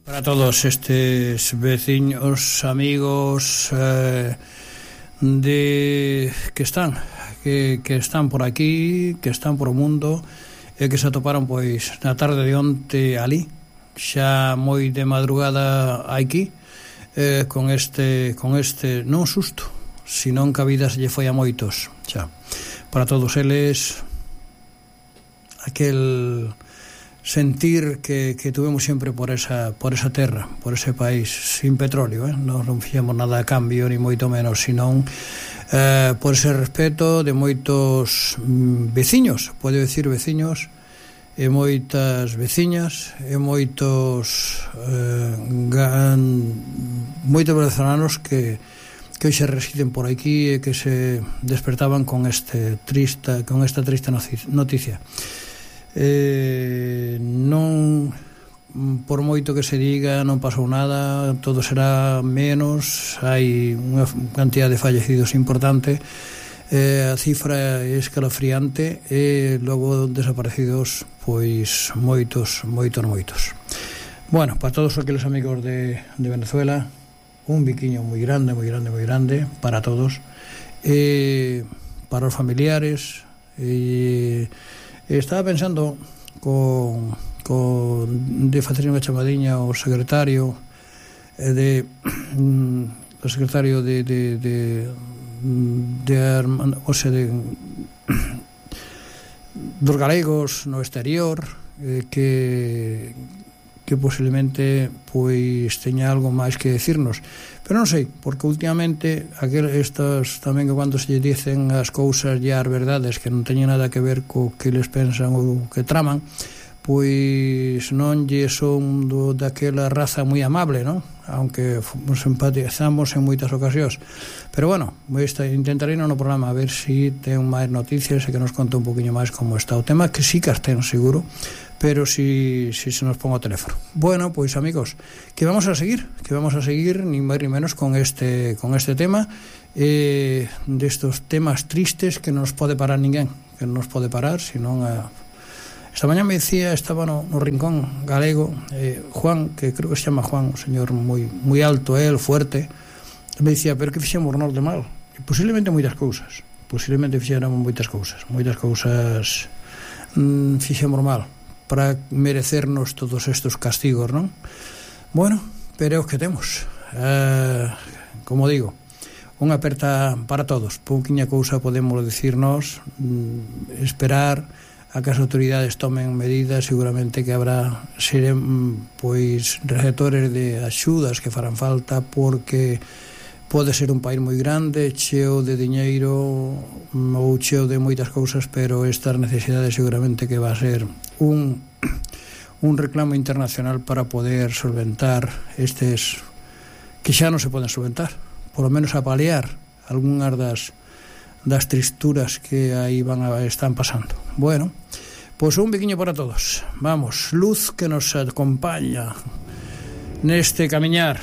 Para todos estes veciños, amigos que están por aquí, que están por o mundo e que se atoparon pois na tarde de onte ali, xa moi de madrugada aquí, con este non susto, senón que a vida se lle foi a moitos xa. Para todos eles aquel sentir que tuvemos sempre por esa terra, por ese país sin petróleo, non fixemos nada a cambio ni moito menos, senón por ese respeto de moitos veciños, pode decir veciños, e moitas veciñas e moitos venezolanos que hoxe residen por aquí e que se despertaban con esta triste noticia. Non, por moito que se diga, non pasou nada, todo será menos, hai unha cantidad de fallecidos importante, a cifra é escalofriante e logo desaparecidos pois moitos. Bueno, para todos aqueles amigos de Venezuela, un biquiño moi grande para todos, para os familiares. Estaba pensando de facer unha chamadiña ao secretario dos galegos no exterior, que posiblemente pois teña algo máis que decirnos, pero non sei, porque últimamente estas tamén que cando se lle dicen as cousas e as verdades que non teñen nada que ver co que les pensan ou que traman, pois non lle son daquela raza moi amable, non? Aunque nos empatizamos en moitas ocasións. Pero bueno, intentarei no programa a ver se ten máis noticias e que nos conta un poquinho máis como está o tema, que sí que as ten seguro, pero si se nos ponga o teléfono. Bueno, pois amigos, que vamos a seguir nin máis nin menos con este tema, destos temas tristes que non nos pode parar ninguén, que non nos pode parar, senón esta mañá me decía, estaba no rincón galego, Juan, que creo que se chama Juan, un señor moi alto, fuerte, me dicía, pero que fixemos nós de mal? E posiblemente moitas cousas fixemos mal para merecernos todos estes castigos, non? Bueno, pero é o que temos. Como digo, unha aperta para todos, pouquiña cousa podemos decirnos, esperar a que as autoridades tomen medidas, seguramente que habrá pois receptores de axudas que farán falta, porque pode ser un país moi grande, cheo de diñeiro ou cheo de moitas cousas, pero estas necesidades seguramente que va a ser un reclamo internacional para poder solventar estes que xa non se poden solventar, por lo menos a paliar algunhas das tristuras que aí están pasando. Bueno, pois un biquiño para todos. Vamos, luz que nos acompaña neste camiñar.